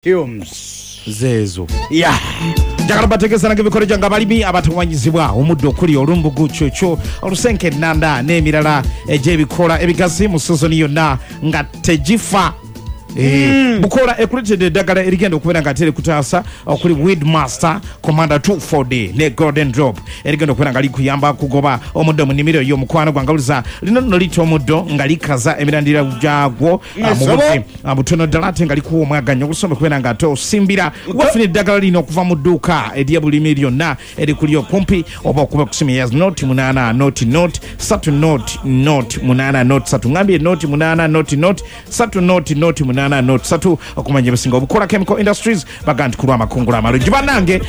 Fumes. Zeezo. Yeah. Njagala bategeeza nange emikolo gyange abalimi abatawanyizibwa omuddo okuli olumbugu, kyokyo, olusenke, ennanda n'emirala egy'ebikoola ebigazi mu sizoni yonna nga tegifa. Bukoola ekuleetedde eddagala erigenda okubeera nga ate likutaasa okuli Weedmaster, Commander 240 ne Golden Drop erigenda okubeera nga likuyamba okugoba omuddo mu nnimiro yo. Mukwano gwange awuliza, lino nno litta omuddo nga likaza emirandira gyagwo mu budde butono ddala ate nga likuwa omwaganya ogusomba okubeera nga ate osimbira. Wafuna eddagala lino okuva mu dduuka ery'ebulimi lyonna erikuli okumpi oba okuba kusimu ya 08 00 3 00 8 0 3. Ngambye 08 00 3 00 8 0 3 okumanya ebisinga. Obukola Chemical Industries baga nti kulwa amakungula amalungi. Bannange,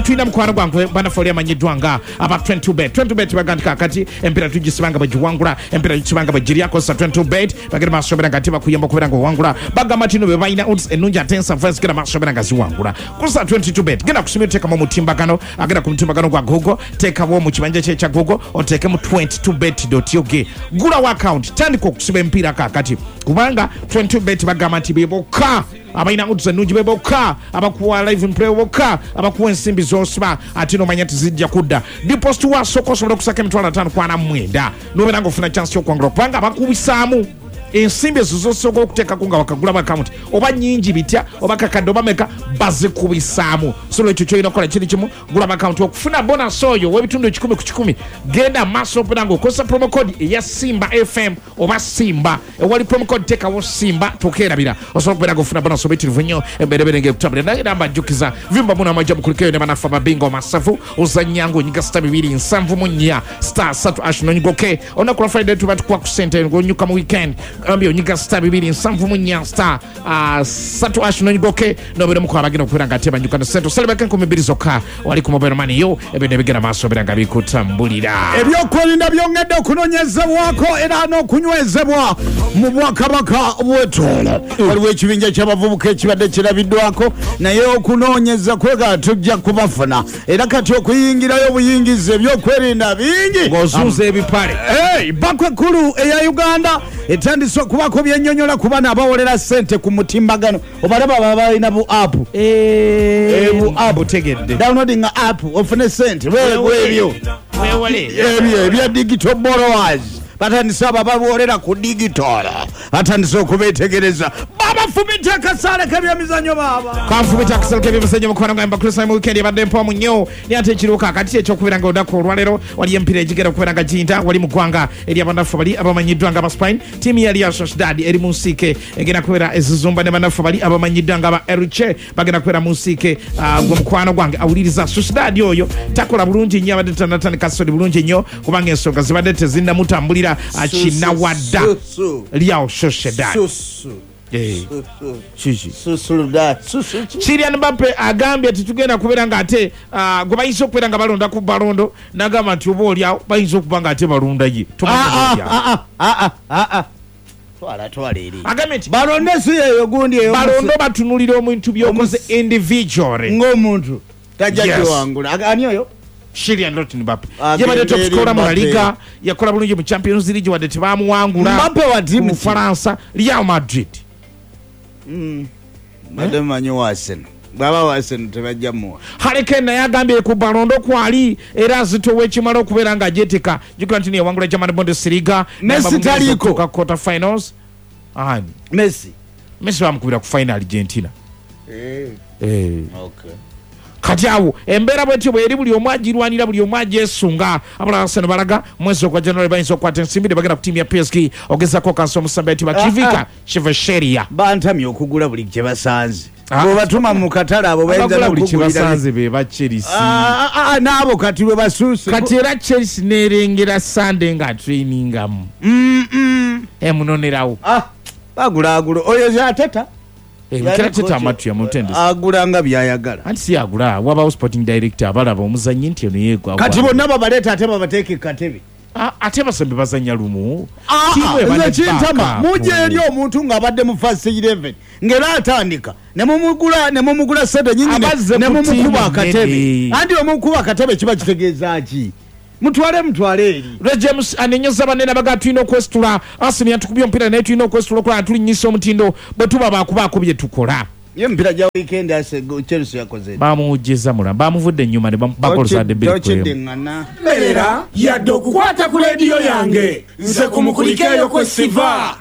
tulina mukwano gwange bannaffe oli amanyiddwa nga aba 22 Bet. 22 Bet baga nti kakati empiira tugisibanga bwegiwangula, empiira gisibanga bwegiryakozesa 22 Bet. Bagenda maaso beera nga tebakuyamba okubeera nga owangula. Bagamba nti no be balina odds ennungi ate ensavu ezigenda maaso beera nga ziwangula. Kusa 22 Bet, genda kusima oteekamu omutimbagano, agenda ku mutimbagano gwa Google, teekawo mu kibanja kye ekya Google, oteekemu 22 bet ug, gulawo account, tandika okusiba empiira kakati, kubanga 22 Bet bagamba nti be bokka abalina odds ennungi, be bokka abakuwa live play, bokka abakuwa ensimbi z'osiba ate nomanya nti zijja kudda. Deposit wasooka osobola okusaka 549,000 nobeera nga ofuna chance yokuwangula, kubanga bakubisaamu ensimbi ezo zosooka okuteekako nga wakagulamu akawunti, oba nyingi bitya, oba kakadde, oba meka, bazikubisaamu. So lwekyo kyolina okukola kiri kimu, gulamu akawunti okufuna bonus oyo ow'ebitundu 100%. Genda maaso opera nga okozesa promo code eya Simba FM oba Simba. Ewali promo code teekawo Simba, tokeerabira, osobola okubeera nga ofuna bonus obuyitirivu nnyo, emberebere ngaekutambulira. Naye era mbajjukiza vimba muno amajja mukulikeyo ne banaffe ababinga omasavu. Ozannya ng'onyiga *274 *3# nonyigoke. Olunaku lwa Friday tuba tukuwa ku sente ng'onyuka mu weekend. Gambye onyiga *274 *3# nonyigoke, nobeera omuku abagenda okubeera nga ate banyuka ne sente. Osalibako 2000 zokka wali ku mobile money yo, ebintu ebigenda maaso obeera nga bikutambulira. Ebyokwerinda byongedde okunoonyezebwako era n'okunywezebwa mu bwakabaka bw'Etoolo. Waliwo ekibinja ky'abavubuka ekibadde kirabiddwako, naye okunoonyeza kwega tujja kubafuna, era kati okuyingirayo obuyingiza ebyokwerinda bingi. Ng'ozunza ebipale. Hey, banka ekkulu eya Uganda etandise okubaako byennyonnyola ku bana abawolera ssente ku mutimbagano. Obalaba baba balina bu app. Bu app. Butegedde. Downloading app ofune sente ebyo. Wewale. Ebyo ebya digital borrowers, batandise abo ababolera ku digital, batandise okubetegereza. Babafumita akasaale k'ebyemizannyo baaba. Kanfumita akasalo k'ebyemizannyo, mukwano gwange Bakristo. Mu weekend ebadde mpoomu nnyo, naye ate ekiriwo kaakati ekyokubeera nga olunaku olwaleero waliyo emipiira egigenda okubeera nga giyinda wali mu ggwanga eryabannaffe bali abamanyiddwa nga Abaspain. Ttiimu ya Real Sociedad eri mu nsiike, egenda kubeera ezizumba ne bannaffe bali abamanyiddwa nga aba Elche, bagenda kubeera mu nsiike. Gwe mukwano gwange awuliriza, Sociedad oyo takola bulungi nnyo, abadde tanatandika soli bulungi nnyo kubanga ensonga zibadde tezinnamutambulira. Kinawadda Real Sociedad. Kiki? Kylian Mbappe agambye tetugenda kubeera nga ate gwe bayinza okubeera nga balonda ku Ballon d'Or, n'agamba nti oba oliawo bayinza okuba nga ate balonda ye. Tomanyi oba oliawo. Twala, twala eri. Agambye nti balonde si yeyo gundi eyo. Balondo batunulira omuntu byokoze individually. Ng'omuntu tajja kiwangula. Ani oyo? Kylian Lottin Mbappe. Agende yabadde top eri scorer mu La Mbappe. Liga, yakola bulungi mu Champions League wadde tebamuwangula. Mbappe wa ku tiimu ki? Bufalansa, Real Madrid. Badde mumanyi wa Arsenal. Bwaba wa Arsenal tebajja muwa. Harry Kane naye agambye ku Ballon d'Or kwali era azitowa ekimala okubeera nga ajetika. Jjukira nti yawangula German Bundesliga. Messi Namba taliiko. okutuuka quarter finals. Ani? Messi. Messi bamukubira ku final Argentina. Okay. Kati awo embeera bwetyo bweri, buli omu agirwanira, buli omu agyesunga. Abalala Arsenal balaga mwezi ogwa January bayinza okukwata ensimbi ne bagenda ku ttiimu ya PSG ogezako kansa omusambi ayitibwa Kivika Kvaratskhelia. Bantamye okugula buli kye basanze. Ah. Bwebatuma mu katale abo bayinza Abagula buli n'okugulira. kyebasanze be ba Chelsea. Ah, ah, ah, n'abo kati bwe basuuse. Kati era Chelsea nerengera Sunday nga trainingamu emunonerawo. Ah, bagulaagula oyo Arteta. Mikel Arteta amatu yamutendesa. Agula nga byayagala. Anti si agula, wabawo sporting director abalaba omuzannyi nti eno yeegwa. Kati bonna babaleeta ate babateeke katebe. Ah, ate basembe bazannya lumu. Ah, Ttiimu eba nze ne kintama backup. mujja eri omuntu ng'abadde mu first 11 ng'era atandika nemumugula, nemumugula sente nyingi Abazze ku nemumukuba ttiimu akatebe. nnene. Anti omukuba akatebe kiba kitegeeza ki? Mutwale, mutwale eri. Ray James anenyeza banene, abaga tulina okwesitula. Arsenal yatukubye omupiira, naye tulina okwesitula okulaba tulinnyisa omutindo bwe tuba bakubaako bye tukola. Ye emipiira gya weekend ase Chelsea yakoze. Bamuwujjizza mula bamuvudde ennyuma ne bamubakola bbiri ku emu. Tokiddingana. Mberera yadde okukwata ku leediyo yange nze ku mukulikeeyo kwe siva.